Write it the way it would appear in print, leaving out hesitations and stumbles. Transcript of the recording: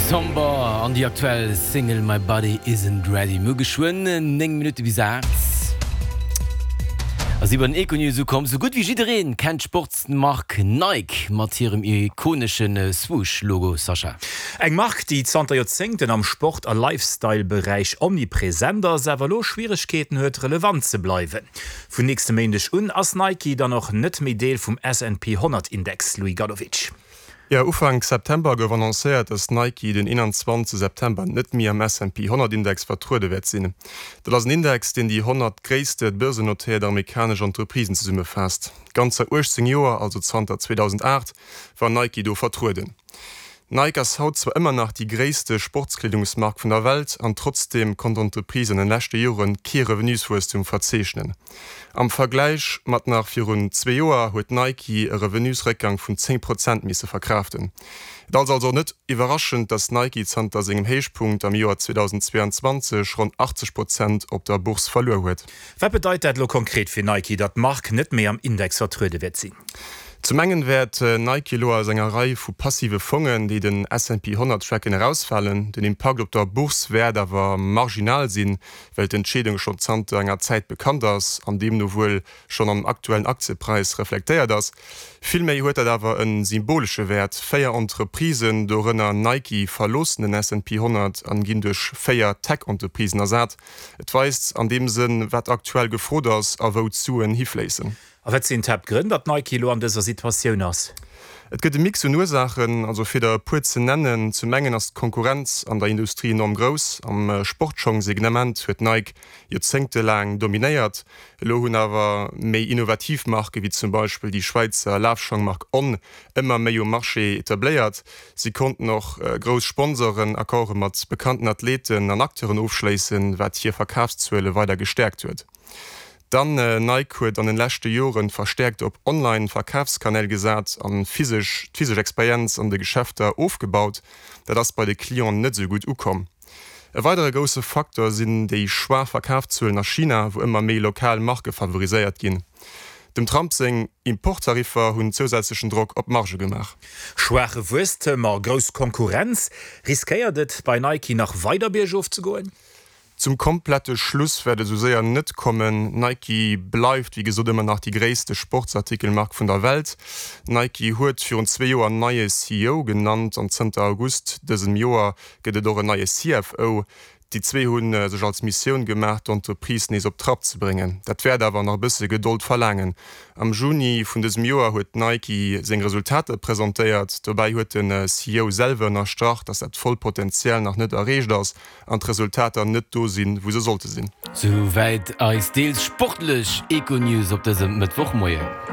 Somber an déi aktuell Single My Body Isn't Ready. Mir hu geschwënn 9 Minutte bis 8 a si bei den Econews ukomm. Sou gutt wéi jiddereen kennt d'Sportsmark Nike mat hirem ikonesche Swoosh-Logo. Sascha. Eng Mark, déi zanter Joerzéngten am Sport a Lifestyle-Beräich omnipresent ass, awer elo Schwieregkeeten huet, relevant ze bleiwen. Vun nächste Méindeg un ass Nike dann och net méi Deel vum S&P 100 Index, Louis Gadovic. Jo, Ufank September gouf annoncéiert, dass Nike den 21 September net méi am S&P 100 Index vertruede wäert sinn. Dat ass en Index, deen déi 100 gréisste börsennotéiert amerikanesch Entreprisen zesummefaasst. Ganzer 18 Joer, also zanter 2008, war Nike do vertrueden. Nike ass haut zwar ëmmer nach déi gréisste Sportskleedungsmark vun der Welt an trotzdeem konnt d'Entreprise an den leschte Jore kee Revenuswuesstum verzeechnen. Am Vergläich mat nach virun zwee Joer huet Nike e Revenusréckgang vun 10 Prozent misse verkraaften. Et ass also net iwwerraschend, datt Nike zanter sengem Héichpunkt am Joer 2022 ronn 80 Prozent op der Bourse verluer huet. Wat bedeit dat elo konkret fir Nike, datt d'Mark net méi am Index vertruede wäert sinn? Zum engen wäert Nike elo aus enger Rei vu passive Fongen, déi den S&P 100 tracken, erausfalen. Den Impakt op der Bourse wäert awer marginal sinn, well d'Entscheedung schonn zanter enger Zäit bekannt ass an deemno wuel schonn am aktuellen Aktiepräis reflektéiert ass. Villméi huet dat awer e symbolesche Wäert. Véier Entreprisen, dorënner Nike, verloossen den S&P 100 an ginn duerch véier Tech-Entreprisen ersat. Et weist an deem Sënn, wat aktuell gefrot ass a wou d'Suen hifléissen. A wat sinn d'Haaptgrënn, datt Nike elo an dëser Situatioun ass? Et gëtt e Mix un Ursaachen, also fir der e puer ze nennen, Zum engen ass d'Konkurrenz an der Industrie enorm grouss. Am Sportschong-Segnement huet Nike joerzéngtelaang dominéiert. Elo hunn awer méi innovativ Marke wéi zum Beispill déi Schwäizer Lafschongmark On ëmmer méi um Marché etabléiert. Si konnten och grouss Sponsoren-Accorde mat bekannten Athleten an Acteuren ofschléissen, wat hir Verkafszuele weider gestäerkt huet. Dann, Nike huet an den leschte Joren verstäerkt op Online Verkafskanäl gesat an physesch d'physesch Experienz an de Geschäfter ofgebaut. Dat ass bei de Clienten net esou gutt ukomm. E weidere grousse Faktor sinn déi schwaach Verkafszuelen a China, wou ëmmer méi lokal Marke favoriséiert ginn. Dem Trump seng Importtariffer hunn zousätzlechen Drock op d'Marge gemaach. Schwaache Wuesstem a grouss Konkurrenz, riskéiert et bei Nike nach weider biergof ze goen? Zum komplette Schluss wäert et esou séier net kommen. Nike bleift wéi gesot ëmmer nach déi gréisste Sportsartikelmark vun der Welt. Nike huet virun zwee Joer en neie CEO genannt an zënter August dësem Joer gëtt et och en neie CFO. Déi zwee hu sech als Missioun gemaach, d'Entreprise nees op Trapp ze bréngen. Dat wäert awer nach e bësse Gedold verlaangen. Am Juni vun dësem Joer huet Nike seng Resultater presentéiert. Dobäi huet de CEO selwer ënnerstrach, datt dat vollt Potential nach net erreecht ass an d'Resultater net do sinn, wou se sollte sinn. Souwäit eis deels sportlech Econews op dësem Mëttwochmoien.